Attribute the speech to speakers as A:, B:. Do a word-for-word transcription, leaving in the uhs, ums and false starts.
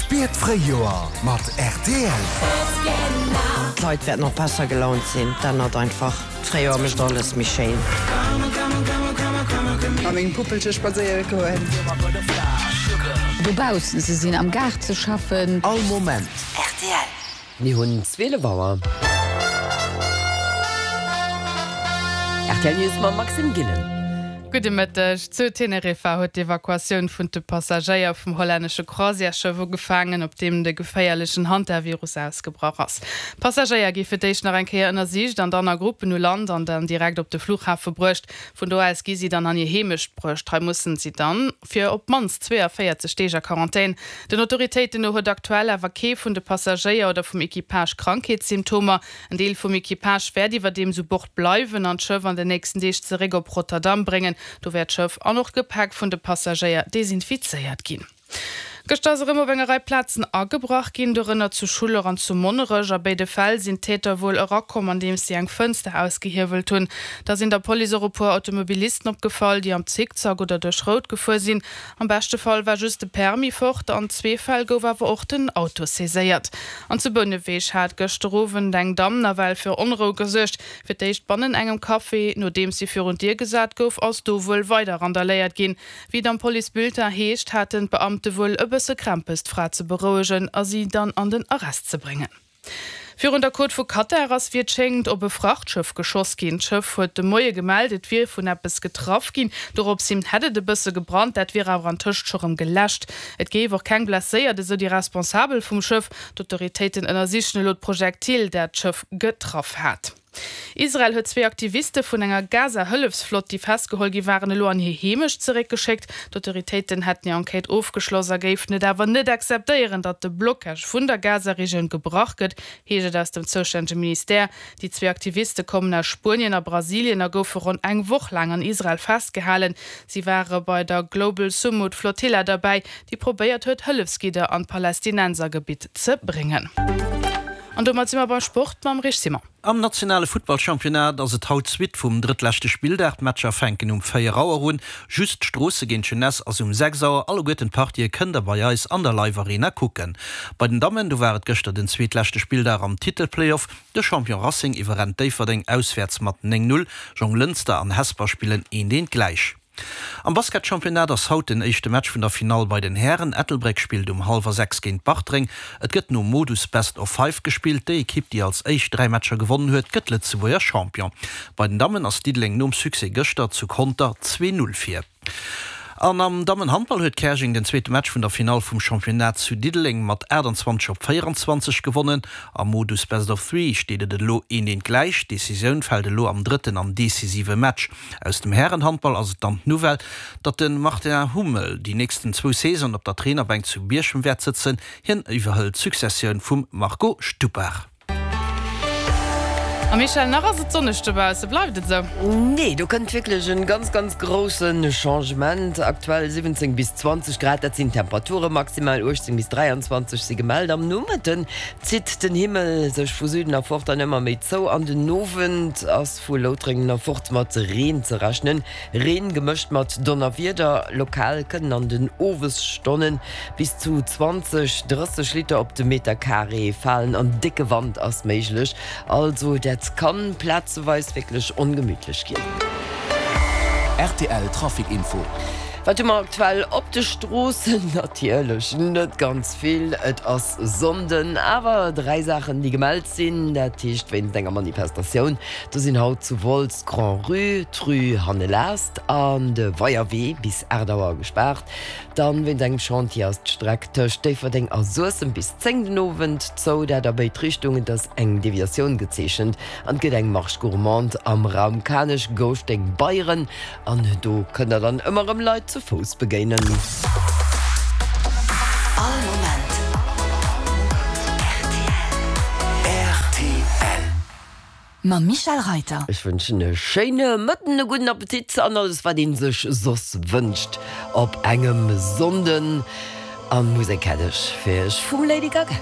A: Spier d'Fréijoer mat rtl.
B: D'Leit wäerten och besser gelaunt sinn, 't ännert einfach, d'Fréijoer mécht alles méi schéin.
C: Mat mengem Puppelche spadséiere goen.
D: Dobaussen ze sinn, am Gaart ze schaffen.
A: All Moment.
B: Rtl.
E: Mir hunn zwielef Auer. Rtl News mam Maxime Gillen.
F: Gudde Mëtteg. Zu Teneriffa huet d'Evakuatioun vun de Passagéier vum hollännesche Croisièresschëff ugefaangen, op deem de geféierlechen Hantavirus ausgebrach ass. D'Passagéier gi fir d'éischt nach eng Kéier ënnersicht an dann a Gruppen u Land an dann direkt op de Fluchhafe bruecht. Vun do aus gi si dann an hir Heemecht bruecht. Hei mussen si dann fir op d'mannst zweeënvéierzeg Deeg a Quarantän. Den Autoritéiten no huet aktuell awer kee vun de Passagéier oder vum Equipage Krankheetssymptomer. En Deel vum Equipage wäert iwwerdeems u Bord bleiwen an d'Schëff an den nächsten Deeg zeréck op Rotterdam bréngen. Do wäert d'Schëff an och d'Gepäck vun de Passagéier desinfizéiert ginn. Gëschter ass erëm op enger Rei Plazen agebrach ginn, dorënner zu Schuller an zu Monnerech. A béide Fäll sinn d'Täter wuel erakomm, andeems si eng Fënster ausgehiewelt hunn. Da sinn der Police och e puer Automobilisten opgefall, déi am Zickzack oder duerch Rout gefuer sinn. Am beschte Fall war just de Permis fort, an zwee Fäll gouf awer och den Auto saiséiert. An zu Bouneweg hat gëschter Owend eng Damm nawell fir Onrou gesuergt. Fir d'éischt bannen engem Café, nodeems si virun d'Dier gesat gouf, ass do wuel weider randaléiert ginn. Wéi et am Policebulletin heescht, haten d'Beamte wuel e bësse Krämpes, d'Fra ze berouegen a si dann an den Arrest ze bréngen. Virun der Côte vu Katar ass, wéi et schéngt, op e Frachtschëff geschoss ginn. D'Schëff huet de Moie gemellt, et wier vun eppes getraff ginn. Doropshin hätt et e bësse gebrannt, dat wier awer antëscht scho rëm geläscht. Et géif och keng Blesséiert, esou déi Responsabel vum Schëff. D'Autoritéiten ënnersichen elo d'Projektil, dat d'Schëff getraff hat. Israel huet zwee Aktiviste vun enger Gaza-Hëllefsflott, déi festgeholl gi waren, elo an hir Heemecht zeréckgeschéckt. D'Autoritéiten hätten hir Enquête ofgeschloss a géifen et awer net akzeptéieren, datt de Blocage vun der Gaza-Regioun gebrach gëtt, heescht et aus dem zoustännege Ministère. Déi zwee Aktiviste kommen aus Spuenien a Brasilien a goufe ronn eng Woch laang an Israel festgehalen. Si ware bei der Global Sumud Flotilla derbäi, déi probéiert huet, Hëllefsgidder an d'Palästinensergebitt ze bréngen. An domat si mer beim Sport mam Rich Simon.
G: Am nationale Futtballchampionnat ass et haut d'Suite vum drëttleschte Spilldag. D'Matcher fänken um véier Auer un. Just Stroosse géint d'Jeunesse ass um sechs Auer. Alleguerten d'Partië kënnt der bei eis an der Live Arena kucken. Bei den Dammen, do war et gëschter den zweetleschte Spilldag am Titelplayoff. De Champion Racing iwwerrennt Déifferdeng auswäerts mat néng Null. Jonglënster an Hesper spillen eent eent gläich. Am Basketchampionnat ass haut den éischte Match vun der Finall bei den Hären. Ettelbréck spillt um hallwer sechs géint Bartreng. Et gëtt nom Modus Best of Five gespillt. Déi Ekipp, déi als éischt dräi Matcher gewonnen huet, gëtt Lëtzebuerger Champion. Bei den Dammen ass Diddeleng nom Succès gëschter zu Conter zwee Null vir. An am Dammenhandball huet Käerjeng den zweete Match vun der Finall vum Championnat zu Diddeleng mat aachtanzwanzeg op véieranzwanzeg gewonnen. Am Modus Best of Three steet et elo een eent gläich. D'Decisioun fält elo am drëtten an decisive Match. Aus dem Härenhandball ass et dann d'Nouvelle, datt de Martin Hummel déi nächsten zwou Saisonen op der Trainerbänk zu Bierchem wäert sëtzen. Hien iwwerhëlt d'Successioun vum Marco Stupar.
F: A Michèle, nach ass et sonneg dobausse, bleift et esou?
E: Nee, do kënnt wierklech en ganz, ganz groussen Changement. Aktuell siwwenzéng bis zwanzeg Grad, dat sinn d'Temperature, maximal uechtzéng bis dräianzwanzeg si gemellt. Am Nomëtten zitt den Himmel sech vu Süden erfort dann ëmmer méi zou an den Owend ass vu Loutrengen erfort mat Reen ze rechnen. Reen gemëscht mat Donnerwieder. Lokal kënnen an den Owesstonnen bis zu zwanzeg, drësseg Liter op de Meterkaree falen an décke Wand ass méiglech. Also dat kann plazeweis wierklech ongemütlech ginn.
A: Rtl Trafic Info.
E: Wat hu mer aktuell op de Stroossen? Natierlech net ganz vill, et ass Sonnden. Awer dräi Saachen, déi gemellt sinn, dat heescht wéinst enger Manifestatioun, do sinn haut zu Wolz d'Grand-Rue, d'Rue Hannelast an de Weierwee bis aacht Auer gespaart. Dann wéinst engem Chantier ass d'Streck tëscht Déifferdeng a Suessem bis zéng den Owend zou, dat a béid Richtungen. Et ass eng Deviatioun gezeechent an et gëtt eng Marche gourmande am Raum Kanech, Gouschteng, Beyren an do kënnt der dann ëmmer erëm Leit zu Fouss begéinen.
H: All Moment rtl. Mam Michèle Reiter.
E: Ech wënschen e schéine Mëtten, e gudden Appetit an alles wat een sech soss wënscht op engem Sonnden. An Musek hätt ech fir iech vum Lady Gaga.